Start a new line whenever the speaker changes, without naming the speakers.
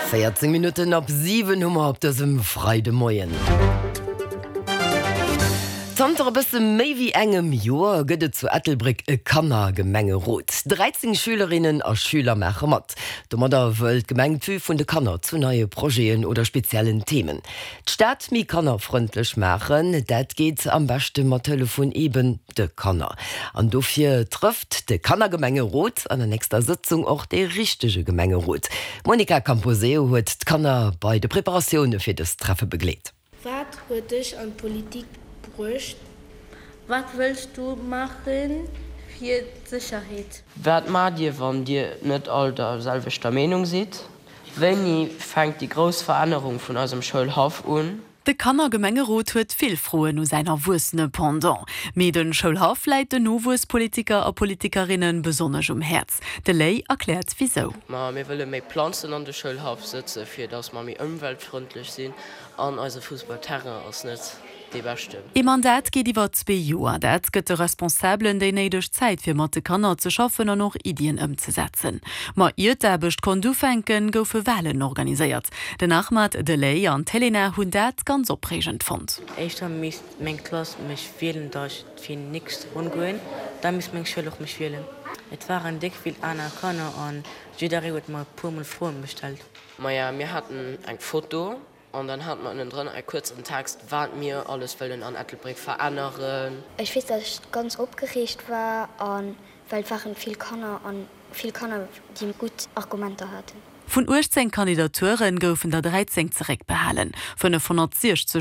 14 Minutten op 7 hu mer op dësem Freidemoien. Zanter e bësse méi wéi engem Joer gëtt et zu Ettelbréck e Kannergemengerot. 13 Schülerinnen a Schüler maache mat. Domadder wëll d'Gemeng d'Vue vun de Kanner zu neie Projeten oder speziellen Themen d'Stad méi kannerfrëndlech maachen. Dat geet am beschte mat Hëllef vun eben de Kanner. An dofir trëfft de Kannergemengerot an der nächster Sëtzung och dee richtege Gemengerot. D'Monica Camposeo huet d'Kanner bei de Preparatioune fir dëst Treffe begleet.
Wat huet dech an d'Politik bruecht?
Wat wëlls du maache fir d'Sécherheet?
Wat maacht Dir, wann Dir net all der selwechter Meenung sidd? Wéini fänkt déi grouss Verännerung vun eisem Schoulhaff un?
De Kannergemengerot huet vill Froen u säin erwuessene Pendant. Mee de Schoulhaff läit den Nowuesspolitiker a politikerinne besonnesch um Häerz. De Ley erkläert wisou.
Ma mir wëlle méi Planzen an de Schoulhaff sëtze fir datt mer méi ëmweltfrëndlech sinn an eise Fussballterrain ass net dee beschten.
Ee Mandat geet iwwer zwee Joer. Dat gëtt de Responsabelen déi néideg Zäit fir mat de Kanner ze schaffen an och Iddien ëmzesetzen. Ma ier d'Aarbecht konnt ufänken, goufe Walen organiséiert. Den Ahmad, de Ley an d'Helena hunn dat ganz opreegend fonnt.
Éischter misst meng Klass mech wielen, da ech fir d'nächst Ronn goen, da misst meng Schoul och mech wielen. Et waren déck vill aner Kanner an jidderee huet mer e puer mol Froen gestallt.
Maja, mir haten eng Foto an dann hate mer ënnendrënner e kuerzen Text, wat mir alles wëllen an Ettelbréck veränneren.
Ech weess, dass ech ganz opgereegt war, a well et waren vill Kanner an vill Kanner, déi gutt Argumenter haten.
Vun 18 Kandidature goufen der 13 zeréckbehalen. 560.